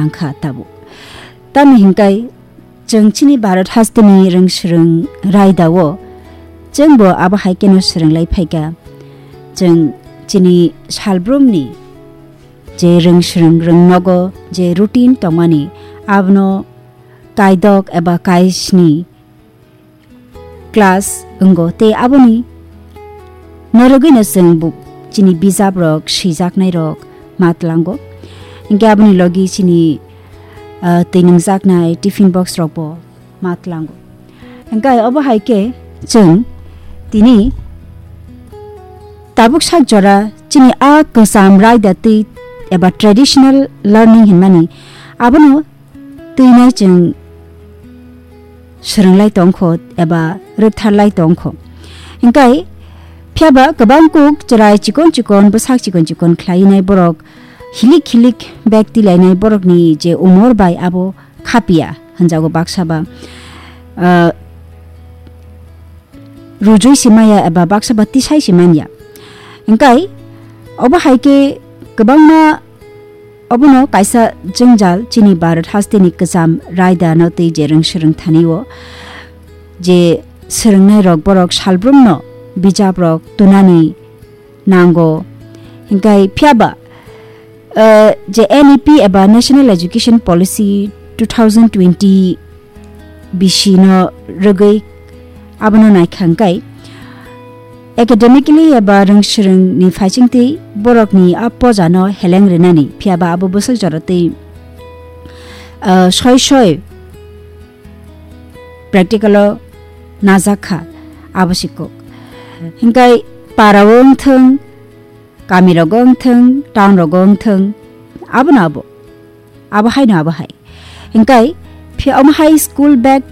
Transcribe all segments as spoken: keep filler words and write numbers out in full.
nangkha tabuk. Tamni hinkai chwng chini Bharat hasteni rwng swrwng raida o chwngbo abo hai kheno swrwng lai phaikha. Chwng chini salbrumni je rwng swrwng rwng nogo je routine tongmani abono kaidok eba kaisni class wngo tei aboni norogwino chwng bo chini bijabrok swijaknairok ma tlango. Hinkhe aboni logi chini, ah, twi nwngjaknai tiffin box rokbo ma tlango. Hinkhe obo hai khe chwng tini tabuk sak jora chini a kwcham raida twi eba traditional learning hinmani abono twinai chwng swrwng lai tongkho eba rwkthar lai tongkho. Hinkhe phiyaba kwbang kuk chwrai chikon chikon bwsak chikon chikon khlainai borok hilik hilik bag tilainai borokni je umor bai abo khapia hwnjago baksa ba, ah, rujui si maya eba baksa ba tisai si manya. Hinkhe obo hai khe kwbangma obono kaisa jwngjal chini Bharat hasteni kwcham raida no twi je rwng swrwng thani o je swrwngnai rok borok salbrumno bijap rok tunani nango. Hinkhe phiyaba, eh, je N E P eba National Education Policy two thousand twenty bisi no rwgwi abono naikha hinkhe academically eba rwng swrwng ni phaisingtwi borokni a poja no heleng rwnani phiyaba abo bwswk jora twi, eh, soi soi practical o najak kha abo si kok. Hinkhe para o wng thwng, kami rogo wng thwng, town rogo wng thwng, abono abo, abo hai no abo hai. Hinkhe phi omo hai school bag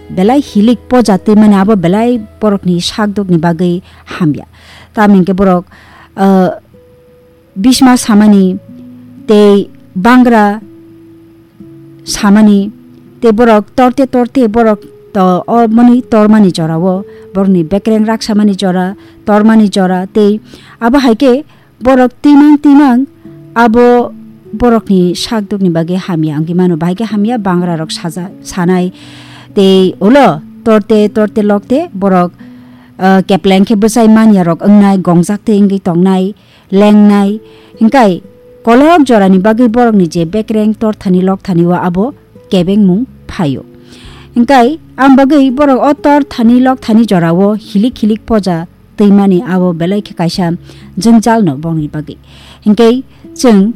belai hilik poja twi mani abo belai borokni sakdokni bagwi hamya. Tamni hinkhe borok, ah, bisma samani tei bangra samani tei borok torte torte borok to o mani tormani jorao borokni bekreng raksamani jora tormani jora tei abo hai khe borok twimang twimang abo borokni sakdokni bagwi hamya wngwi mano bahai khe hamya bangra rok saja sanai tei ulo torte torte lokte borok, ah, kepleng khe bwchai manya rok wngnai gongjak tei wngwi tongnai lengnai. Hinkhe kolok jorani bagwi borokni je bekreng torthani lokthani o abo kebengmung phaio. Hinkhe ang bagwi borok o torthani lokthani jorao hilik hilik poja twimani abo belai khe kaisa jwngjalno borokni bagwi. Hinkhe chwng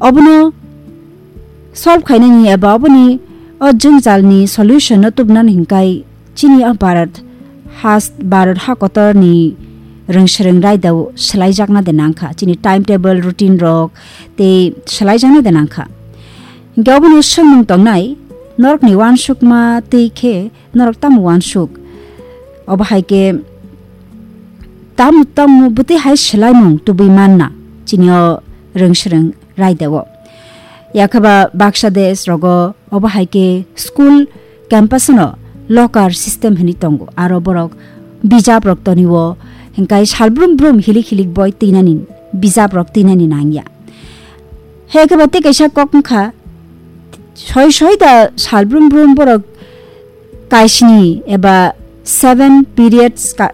obono solve khainani eba oboni o jwngjalni solution no tubunani hinkhe chini o Bharat has, Bharat ha kotorni rwng swrwng raidao swlaijakna de nangkha. Chini timetable, routine rok tei swlaijakna de nangkha. Hinkhe obono swngmung tongnai, norokni uansukma twi khe norok tamo uansuk? Obo hai khe tamo tamo bwtwi hai swlaimung tubui manna chini o rwng swrwng raidao. Yakhaba baksa desh rogo obo hai khe school campus no locker system hinwi tongo, aro borok bijap rok toni o, hinkhe sal brum brum hilik hilik boi twinani, bijap rok twinani nangya. He khe ba tei kaisa kok wngkha, soi soi da sal brum brum borok kaisini eba seven periods ka-,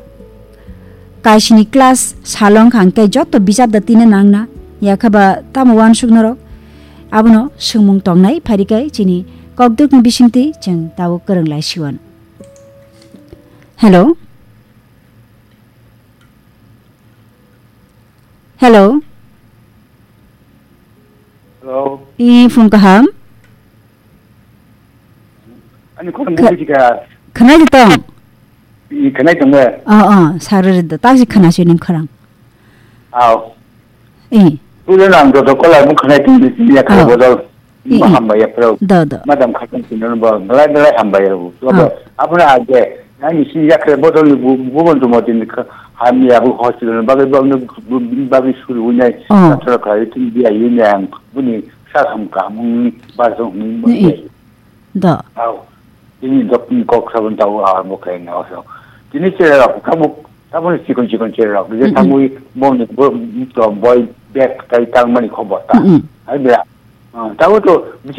kaisini class salong kha, hwnkhe joto bijap da tina nangna, yakha ba tamo uansuk norok? Abono swngmung tongnai, pharikai chini kokdwkni bisingtwi chwng tabuk kwrwng lai siwan. Hello? Hello? Hello? I phung kaham? Ani khorang Kha-, buji kha. Khwnai de tong? I khwnai tong de. Oh, oh, sarere de. Taksi khwnasi ning khorang. Aw. I. Tulen ang joto kola mung khwnai tong de, ya kha Oh. Bodol. I, i. Hambai ya pro. Do, do. Madam khatang tong de bo. Belai belai hambai ya bo. Oh. Abuna age. Ani si ya kha bodol bu, bu bon tu mo tin kha. Hamya bu hospital bagwi bagwi bu, bagwi suru nai. Oh. Athra kha tin biya yin yang. Buni sa ham ka mung ba so hung. I, i. Da. Aw. Tini dokni kok sabun tau a bo khe na so. Tini chere rok tabuk, tabuk ni chikon chikon chere rok. Je Mm-mm. Tabuk bom ni bo, to boy bag kai tang mani khobor ta. Mm-mm. Ai bra. Ah, tabuk to biche